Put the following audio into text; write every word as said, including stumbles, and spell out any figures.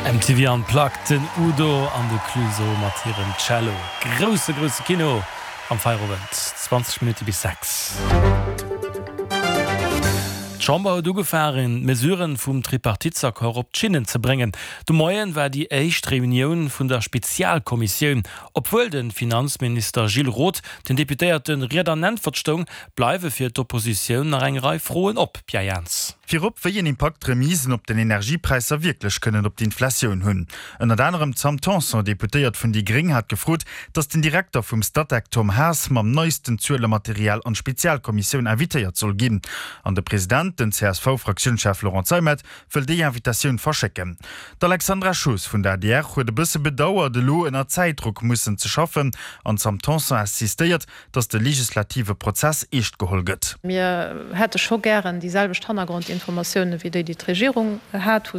M T V Unplugged, den Udo an de Clueso mat hirem Cello. Grousse grousse Kino am Feierowend, zwanzeg Minutte bis sechs. D'Chamber huet ugefaangen, d'Mesuren vum Tripartitsaccord op d'Schinnen ze bréngen. De Moien war déi éischt Reunioun vun der Spezialkommissioun. Obwuel de Finanzminister Gilles Roth den Deputéierte Ried an Äntwert stoung, bleiwe fir d'Oppositioun nach eng Rei Froen op. Pierre Jans. Virop, wéi een Impakt d'Remisen op den Energiepräisser wierklech kënnen op d'Inflatioun hunn. Ënnert anerem d'Sam Tanson, Deputéiert vun déi Gréng, hat gefrot, datt den Direkter vum Statec Tom Haas mam neisten Zuelematerial an d'Spezialkommissioun invitéiert soll ginn. An de President, den C S V-Fraktiounschef Laurent Zeimet, wëll déi Invitatioun verschécken. D'Alexandra Schoos vun der A D R huet e bësse bedauert, elo ënner Zäitdrock mussen ze schaffen an d'Sam Tanson insistéiert, datt de legislative Prozess eescht geholl gëtt. Mir hätte scho gären déi selwecht Hannergrondinformatioune wéi déi, déi d'Regierung hat.